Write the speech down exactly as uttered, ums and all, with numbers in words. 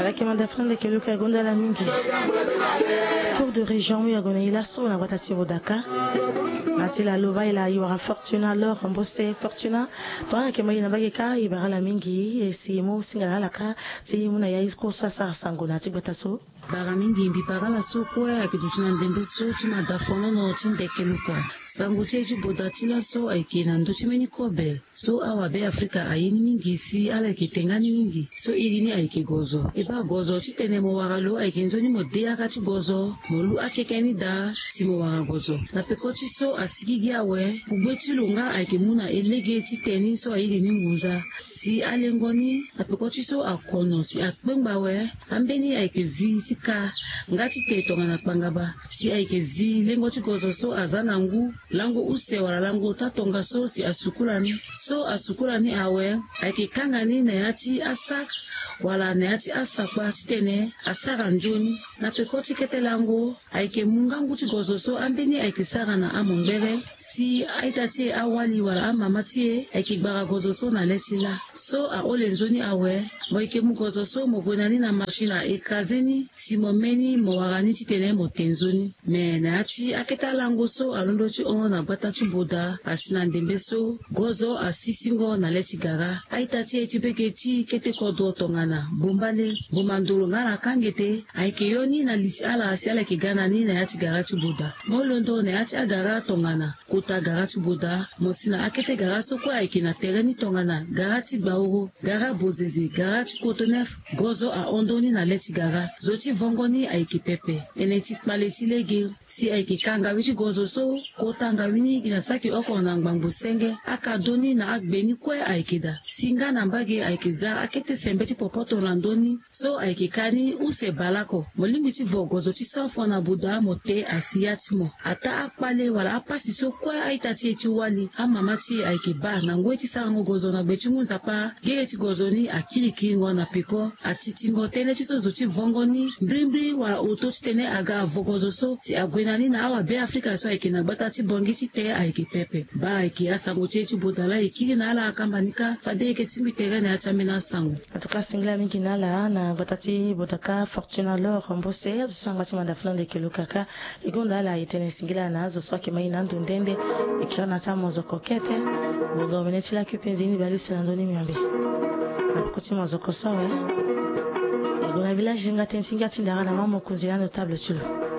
Ake manda fana ndeke luka gonda la mingi. Tour de région mu ya gona ila so na gbata ti bodaka. Na ti la loba ila iwara Fortuna Lor Mbose Fortuna. Tongana ke ma ye na mbage ka e bara la mingi e si mu singa na ala ka ti mu na ya iko so asara sango na ti gbata so. Bara mingi mbi bara ala so kue ayeke duti na ndembe so ti mada fonono ti ndeke luka. Sango ti e ti boda ti laso ayeke na ndö ti mbeni kobe. So awa Beafrika aye ni mingi si ala yeke tenga ni mingi. So iri ni ayeke gozo. E baa gozo titene mo wara lo ayeke nzoni mo de yaka ti gozo. Mo lu akeke ni daa si mo wara gozo. Na peko ti so asigigi awe, kugbe ti lo nga ayeke mu na e lege ti te ni so airi ni ngunza. Si alengo ni na peko ti so akono si akpengba awe. Ambeni ayeke zi ti ka nga ti te tongana kpangaba. Si ayeke zi lengo ti gozo so aza na ngu. Lango use wala lango taa tongaso si asukula ni. So asukula ni awe, ayeke kanga ni na ya ti asak wala na ya ti asakpa titene asara nzoni. Na peko ti kete lango, ayeke mu ngangu ti gozo so ambeni ayeke sara na amongbere. Si a-ita ti e awali wala amama ti e ayeke gbara gozo so na le ti laa. So ahole nzoni awe, mo yeke mu gozo so mo gue na ni na machine a-écraser ni si mo me ni mo wara ni titene mo te nzoni. Me na ya ti akete alango so alondo ti hon na gbata ti boda asi na ndembe so gozo asisingo na le ti gara. A-ita ti e ti bege ti kete kodro tongana bombale, bombandoro nga na kangete ayeke yo ni na li ti ala si ala yeke ga na ni na ya ti gara ti boda. Mo londo na ya ti agara tongana kota gara ti boda. Mo si na akete gara so kue ayeke na tere ni tongana gara ti gbaoro, gara bozeze, gara ti kotonef. Gozo ahon ndoni na le ti gara. Zo ti vongo ni ayeke pepe. Tënë ti kpale ti lege. Si ayeke ka ngawi ti gozo so, kota ngawi ni gi na saki oko na ngbangbo senge. Akado ni na agbe ni kue ayeke daa. Si nga na mbage ayeke za akete sembe ti popoto na ndö ni. So ayeke ka ni use baleoko. Mo lingbi ti vo gozo ti sanfo na boda mo te asi ya ti mo. Ataa akpale wala apasi so kue a-ita ti e ti wali, amama ti e ayeke baa na ngoi ti sarango gozo na gbe ti ngu nzapa. Gege ti gozo ni akirikiringo na peko. Atitingo tënë ti so zo ti vongo ni mbrimbri wala oto titene aga avo gozo so si ague na ni na awa Beafrika so ayeke na gbata ti Bangui ti te ayeke pepe. Baa ayeke asango ti e ti boda laa e kiri na ala akamba ni kâ fade e yeke tingbi tere na ya ti ambeni asango. En tout cas singila mingi na ala na gbata ti boda kâ Fortuna Lor Mbose azo so angba ti manda fula ndeke luka kâ. E gonda ala e tene singila na azo so ayeke ma e na ando nde nde. E kiri na ti amozoko kete. Bongo mene ti laki penze ni baleuse na ndö ni miombe. Na peko ti mozoko so awe. E gue na village linga tënë ti ngia ti ndara na ma mokonzi na notable ti lo.